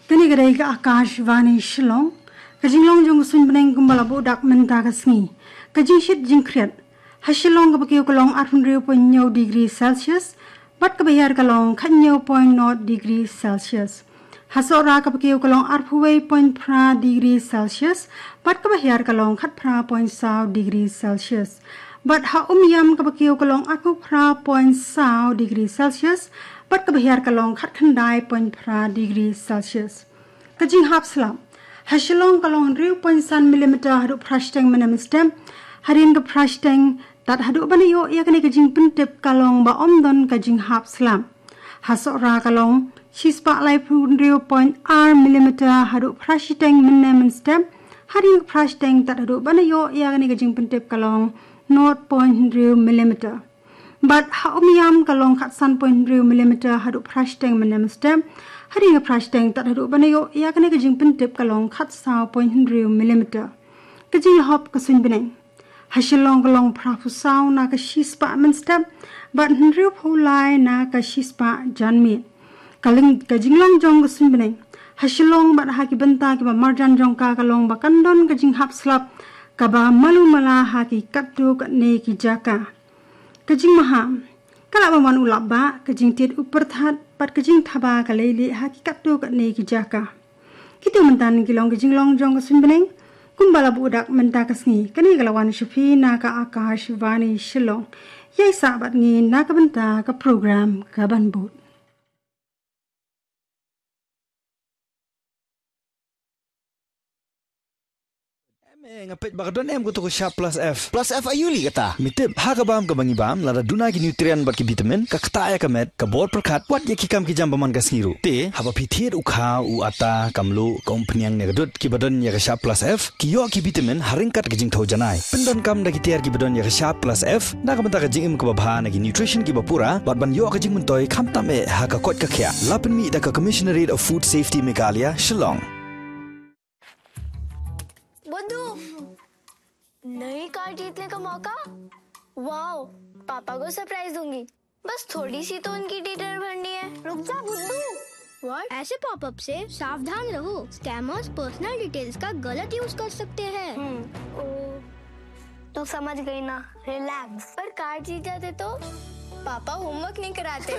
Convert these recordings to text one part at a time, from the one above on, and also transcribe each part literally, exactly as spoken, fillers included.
Kane ka dei ka Akashvani Shillong. Ka jinglong jong ka suiñ bneng kumba la buh dak mynta ka sngi. Ka jingshit jingkhriat. Ha Shillong kaba kiew ka long arphew hynriew point hynñiew degree Celsius, bad kaba hiar ka long khathynñiew point nought degree Celsius. Ha Sohra kaba kiew ka long arphew wei point phra degree Celsius, bad kaba hiar ka long khatphra point saw degree Celsius. Bad ha Umiam kaba kiew ka long arphew phra point saw degree Celsius, bad kaba hiar ka long khatkhyndai point phra degree Celsius. Ka jinghap slap. Ha Shillong ka long hynriew point san millimeter haduh phra shiteng mynne mynstep. Hadien ka phra shiteng tad haduh ban ïoh ïa kane ka jingpyntip ka long ba ym don ka jinghap slap. Ha Sohra ka long shispah laiphew hynriew point ar millimeter haduh phra shiteng mynne mynstep. Hadien ka phra shiteng tad haduh ban ïoh ïa kane ka jingpyntip ka long nought point hynriew millimeter. Bad ha Umiam ka long khatsan point hynriew millimeter haduh phra shiteng mynne mynstep. Hadien ka phra shiteng tad haduh ban ïoh ïa kane ka jingpyntip ka long khatsaw point hynriew millimeter. Ka jinglahop ka suiñ bneng. Ha Shillong ka long phraphew saw na ka shispah mynstep, bad hynriewphew lai na ka shispah janmiet. Ka ling, ka jinglong jong ka suiñ bneng. Ha Shillong bad ha ki bynta kiba marjan jong ka ka long ba kan don ka jinghap slap kaba malu mala ha ki katto katne ki jaka. Ka jingmaham. Ka lah ban wan u lap bah, ka jingtied u pyrthat, bad ka jingthaba ka leilieh ha ki katto katne ki jaka. Kito mynta ki long ki jinglong jong ka suiñ bneng. Kumba la buh dak mynta ka sngi, kane ka la wan sha phi na ka Akashvani Shillong. Ïai sah bad ngi na ka bynta ka program kaban bud. Em, eh, nga peit ba ka don em kato ka Sharp Plus F. Plus F aïu lei kata? Me tip, ha ka bam kaba ngi bam, lada duna ki nutrient bad ki vitamin, ka ktah ïa ka met, ka bor pyrkhat, wat ïa ki kam ki jam ba man ka sngi ruh. Te, haba phi thied u khaw, u atta, ka mluh, ka umphniang ne ka dud, kiba don ïa ka Sharp Plus F, ki ïoh ki vitamin, ha ryngkat ka jingthew janai. Pyndonkam da ki tiar kiba don ïa ka Sharp Plus F, na ka bynta ka jingim kaba bha na ki nutrition kiba pura, bad ban ïoh ka jingmyntoi, khamtam eh, ha ka koit ka khiah. La pynmih da ka Commissionerate of Food Safety Meghalaya, Shillong. बुद्धू, नई कार जीतने का मौका। वाओ, पापा को सरप्राइज दूंगी। बस थोड़ी सी तो उनकी डिटेल भरनी है। रुक जा बुद्धू। व्हाट? ऐसे पॉपअप से सावधान रहो, स्कैमर्स पर्सनल डिटेल्स का गलत यूज़ कर सकते हैं। हम्म, ओ, तू समझ गई ना, रिलैक्स। पर कार जीत जाते तो? पापा होमवर्क नहीं कराते।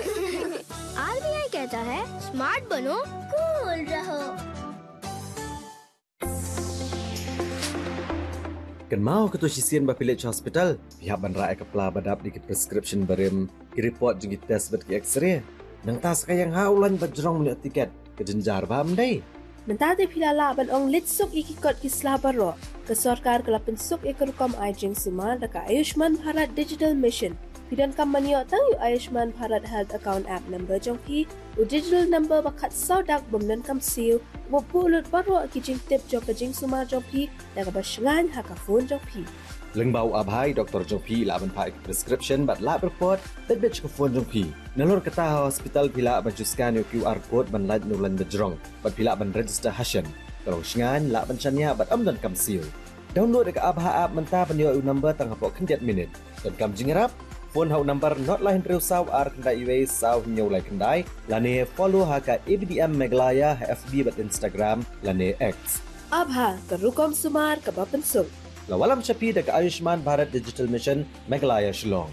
आरबीआई कहता है, स्मार्ट बनो, कूल रहो। Kynmaw, kato shisien ba phi leit sha hospital, phi hap ban rah ïa ka pla ba dap da ki prescription barim, ki report jong ki test bad ki X-ray. Nangta sa ka ïeng ha u lain ba jrong ban ïoh tiket, ka jynjar bha, ym dei? Mynta te phi la lah ban ong leit suk ïa ki kot ki sla baroh. Ka sorkar ka la pynsuk ïa ka rukom ai jingsumar da ka Ayushman Bharat Digital Mission. Phi donkam ban ïoh tang ïa u Ayushman Bharat Health Account App number jong phi, u digital number ba khatsaw dak bym donkam siew, uba buh lut baroh ki jingtip jong ka jingsumar jong phi da kaba shngaiñ ha ka phone jong phi. Lyngba u Abha, i doktor jong phi i lah ban phah ïa ka prescription bad lab report beit beit sha ka phone jong phi. Nalor kata, ha hospital phi lah ban shu scan ïa u QR code ban lait na u lain ba jrong, bad phi lah ban register ha shen. Ka long shngaiñ, lah ban shaniah bad ym donkam siew. Download ïa ka Abha app mynta ban ïoh ïa u number tang hapoh khyndiat minit. Donkam jingïarap? Phone ha u number nod lai hynriew saw ar khyndai wei saw hynñiew lai khyndai, lane follow ha ka A B D M Meghalaya ha F B bad Instagram lane X. Abha, ka rukom sumar kaba pynsuk. La wallam sha phi da ka Ayushman Bharat Digital Mission, Meghalaya, Shillong.